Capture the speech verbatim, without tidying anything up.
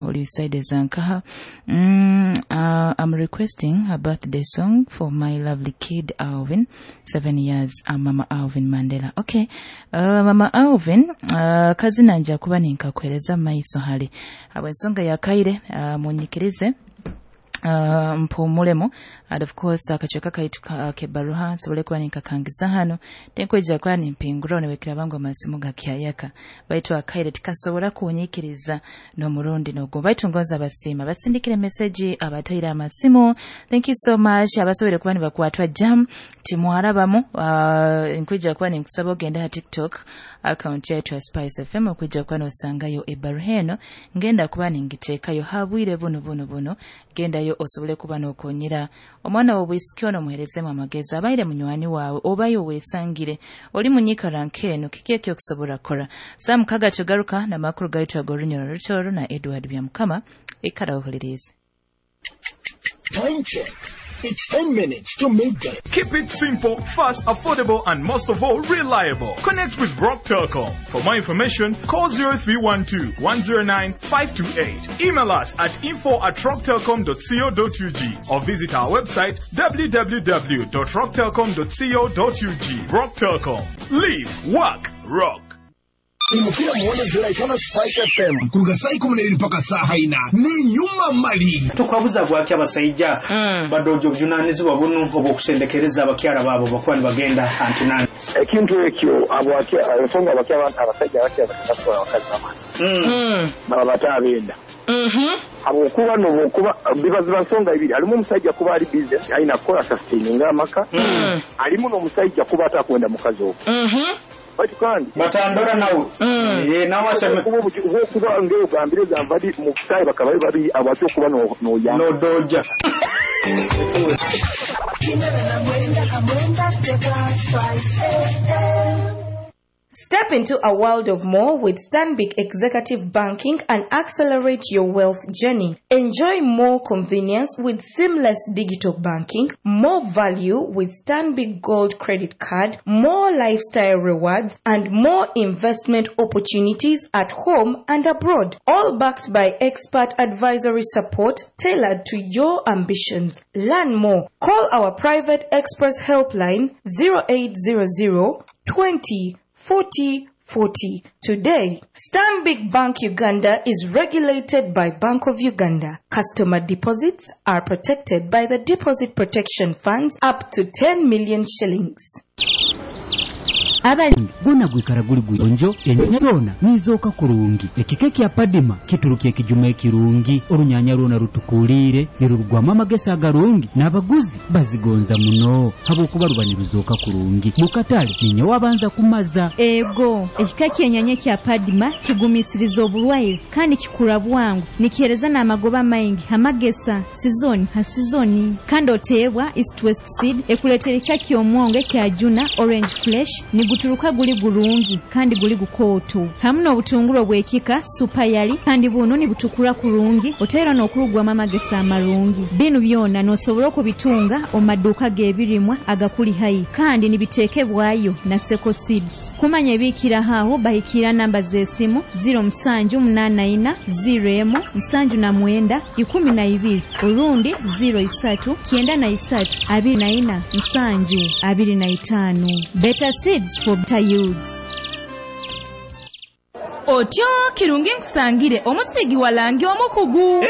Oli side zankaha. mm, uh, I'm requesting a birthday song for my lovely kid Alvin, seven years. uh, Mama Alvin Mandela. Okay, uh, Mama Alvin, uh, kazina nja kuba ninkakuhereza maiso hali habwensonga yakaire. uh, munyikirize Uh, mpumulemu and of course akacweka kaitu ka- kebaruha nsobole kuba ninkakangiza hano, tenkwija kuba nimpingura newekera bangu amasimu gakyayaka, baitu akaire tikasobora kunyikiriza n'omurundi n'ogwo. Baitu ngonza basiima basindikire meseji abataire amasimu. Thank you so much. Abasobole kuba nibakwatwa jam timwarabamu. uh, nkwija kuba ninkusaba ogende ha TikTok account yaitu ya Spice F M okwija kuba nosangayo ebaruha eno. Ngenda kuba ningiteekayo habwire buno buno buno. Gendayo osobole kuba nokonyera omwana w'obwisiki ono, muherezemu amagezi. Abaire munywani waawe obayo weesangire oli munyikara nk'eno, kiki ekyokusobola kukora? Saa mukaga tugaruka n'amakuru gaitu ag'orunyoro rutoro na Edward Byamukama. Ikara ohulirize. Time check. It's ten minutes to midday. Keep it simple, fast, affordable, and most of all, reliable. Connect with Rock Telcom. For more information, call zero three one two one zero nine five two eight. Email us at info at rocktelcom dot co dot U G or visit our website w w w dot rocktelcom dot co dot U G. Rock Telcom. Live, work, rock. Imukira muwonezera ikana Spice F M kuruga saa ikumi n'ebiri mpaka saa ina n'inyuma mali. Tukwabuza bwaki abasajja badoja obuvunanyizibwa buno obwokusendekereza abakyala baabo bakuba nibagenda antinani? Ekintu ekyo abwaki- ensonga abaki abasajja abakya batwala abakazi bamani baba bataabenda, habwokuba nobwokuba biba ziba nsonga ibiri. Halimu omusajja kuba ali busy, alina kukola sustaininga amaka, alimu n'omusajja kuba atakwenda mukazi ogwo, baitu kandi batandora nawe. Eh, nawe aseme. Okuba obuki- obwokuba ngaogambire gamba di mu butayi bakaba bali babiri, abwaki okuba no- noyamba nodoja. Step into a world of more with Stanbic Executive Banking and accelerate your wealth journey. Enjoy more convenience with seamless digital banking, more value with Stanbic Gold Credit Card, more lifestyle rewards, and more investment opportunities at home and abroad. All backed by expert advisory support tailored to your ambitions. Learn more. Call our private express helpline zero eight zero zero twenty forty forty today. Stanbic Bank Uganda is regulated by Bank of Uganda. Customer deposits are protected by the Deposit Protection Funds up to ten million shillings. Abali Gona gwikara guli guyonjo, enyanya zona nizooka kurungi. Ekika kya Padima kituruka ekijuma ekirungi, orunyanya rwona rutukulire, nirurugwamu amagesa agarungi, n'abaguzi bazigonza muno habwokuba ruba niruzooka kurungi. Mukatale ninye wabanza kumaza. Ego, ekika ky'enyanya kya Padima kigumisiriza obulwaire kandi kikura bwangu, nikihereza n'amagoba maingi amagesa sizoni ha sizoni. Kandi oteebwa East West Seed ekuleetera ekika ky'omwongo ekya Juna Orange Fresh, niguturuka guli gurungi kandi guli gukooto, hamu n'obutunguru obw'ekika Super Yali, kandi buno nibutukura kurungi, oteera n'okurugwamu amagesa amarungi. Binu byona n'osobola okubitunga omu maduuka g'ebirimwa agakuli haihi, kandi nibiteekebwayo na Seko Seeds. Kumanya ebiikiraho aho, bahikira namba z'esimu zero musanju munaana ina zero emu nsanju na mwenda ikumi na ibiri orundi zero isatu kyenda na isatu abiri na ina nsanju abiri na itaano. Better seeds for better yields. Otyo kirungi nkusangire omusigi walangi omukugu.